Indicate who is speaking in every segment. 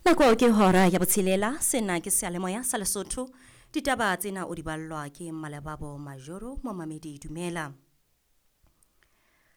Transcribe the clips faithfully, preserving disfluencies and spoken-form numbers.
Speaker 1: Nako ke hora ya botshelela, sena ke seyalemoya sa Lesotho. Ditaba tsena o di ballwa ke Malebabo Majoro, momamedi dumela.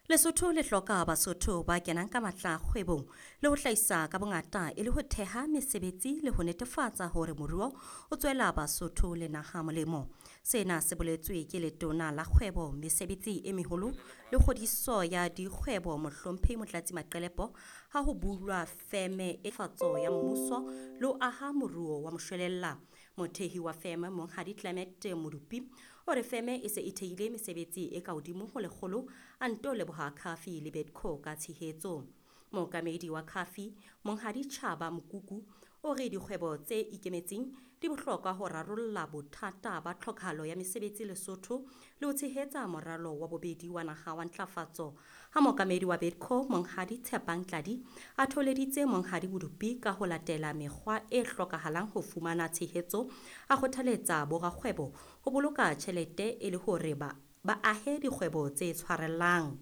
Speaker 1: Lesotho le hloka Basotho ba kenang ka matla kgwebong le ho hlahisa ka bongata e le ho theha mesebetsi le ho netefatsa hore moruo o tswela Basotho le naha molemo. Sena se boletswe ke letona la kgwebo, mesebetsi e meholo le kgodiso ya dikgwebo Mohlomphehi Motlatsi Maqelepo ha ho bulwa feme e fatso ya mmuso le ho aha moruo wa moshwelella. Mothehi wa feme Monghadi Clement Modupi o re feme e se e thehile mesebetsi e ka hodimo ho lekgolo, a nto leboha CAFI le Bidco ka tshehetso. Mookamedi wa CAFI Monghadi Chaba Mokuku o re dikgwebo tse ikemetseng di bohlokwa ho rarolla bothata ba tlhokahalo ya mesebetsi Lesotho le ho tshehetsa moralo wa bobedi wa naha wa ntlafatso. Ha mookamedi wa Bidco Monghadi Tshepang Tladi a thoholeditse Monghadi Modupi ka ho latela mekgwa e hlokahalang ho fumana tshehetso, a kgothaletsa borakgwebo ho boloka tjhelete e le hore ba ba ahe dikgwebo tse tshwarellang.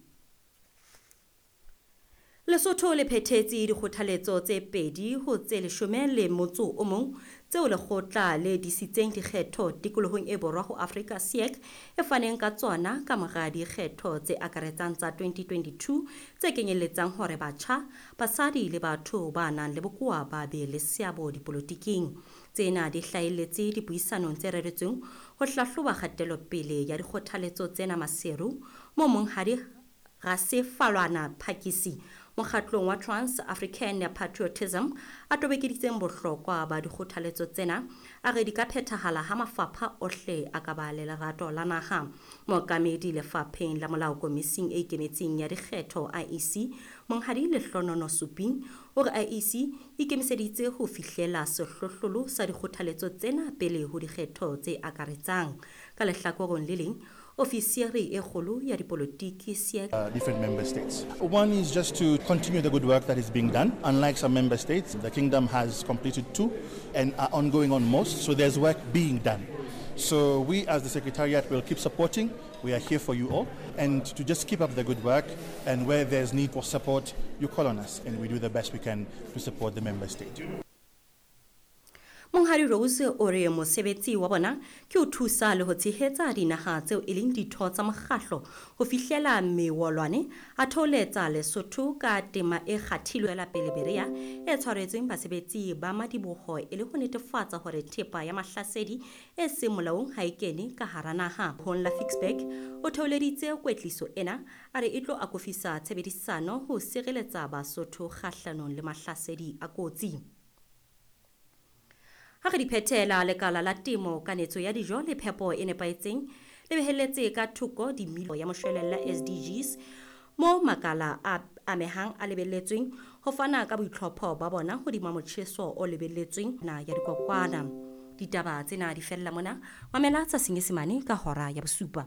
Speaker 1: Lesotho le phethetse dikgothaletso tse pedi ho tse leshome le motso o mong tseo lekgotla le disitseng dikgetho tikolohong e borwa ho Afrika S A D C e faneng ka tsona ka mora dikgetho tse akaretsang tsa twenty twenty-two tse kenyelletsang hore batjha, basadi le batho ba nang le bokowa ba be le seabo dipolotiking. Tsena di hlahelletse dipuisanong tse reretsweng ho hlahloba kgatelopele ya dikgothaletso tsena Maseru, moo Monghadi Rasefalwana Phakisi mokgatlong wa Trans African Patriotism a tobokeditseng bohlokwa ba dikgothaletso tsena, a re di ka phethahala ha mafapha ohle a ka ba le lerato la naha. Mookamedi lefapheng la molao komising e ikemetseng ya dikgetho I E C Monghadi Lehlonono Suping o re I E C e ikemiseditse ho fihlela sehlohlolo sa dikgothaletso tsena pele ho dikgetho tse akaretsang. Ka lehlakoreng le leng, ofisiri e kgolo ya dipolotiki S A D C
Speaker 2: uh, different member states. One is just to continue the good work that is being done. Unlike some member states, the kingdom has completed two and are ongoing on most, so there's work being done. So we as the Secretariat will keep supporting. We are here for you all and to just keep up the good work, and where there's need for support, you call on us and we do the best we can to support the member state.
Speaker 1: Monghadi Rose o re mosebetsi wa bona ke ho thusa le ho tshehetsa dinaha tseo e leng ditho tsa mokgahlo ho fihlela mewolwane, a thoholetsa Lesotho ka tema e kgathilweng la pele Berea e tshwaretsweng basebetsi ba madiboho e le ho netefatsa hore thepa ya mahlasedi e seng molaong ha e kene ka hara naha. Hong la Ficksburg o thoholeditse kwetliso ena, a re e tlo akofisa tshebedisano ho sireletsa Basotho kgahlanong le mahlasedi a kotsi. Ha re di phethela, lekala la temo, kanetso ya dijo le phepo e nepahetseng le behelletse ka thoko dimilo ya moshwelella S D Gs mo makala a amehang a lebelletsweng ho fana ka boitlhopho ba bona hodima motjheso o lebelletsweng na ya dikokwana. Ditaba tsena di fella mona. Mamela tsa Senyesemane ka hora ya bosupa.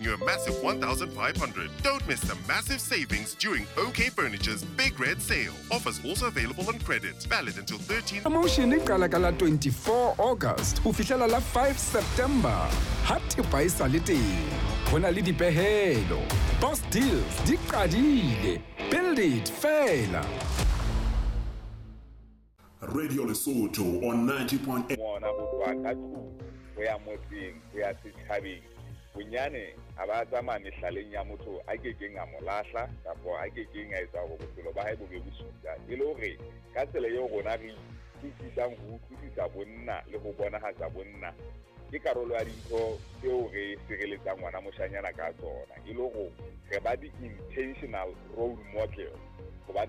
Speaker 3: You a massive one thousand five hundred. Don't miss the massive savings during OK Furniture's Big Red Sale. Offers also available on credit. Valid until thirteen
Speaker 4: Promotion e qala ka la twenty-four August ho fihlela la five September. Ha thepa e sa le teng, ho na le dipehelo. Boss Deals di qadile. Build it fela.
Speaker 5: Radio Lesotho on ninety point eight.
Speaker 6: Ngwana ho tloha ka tlung ho ya motseng ho ya setjhabeng, bonyane a ba tsamaya mehlaleng ya motho a kekeng a mo lahla kapa a kekeng a etsa hore bophelo ba hae bo be bosula, e le hore ka tsela eo rona re utlwisisang ho utlwisisa bonna le ho bonahatsa bonna ke karolo ya dintho tseo re sireletsang ngwana moshanyana ka tsona, e le hore re ba di-intentional role model hobane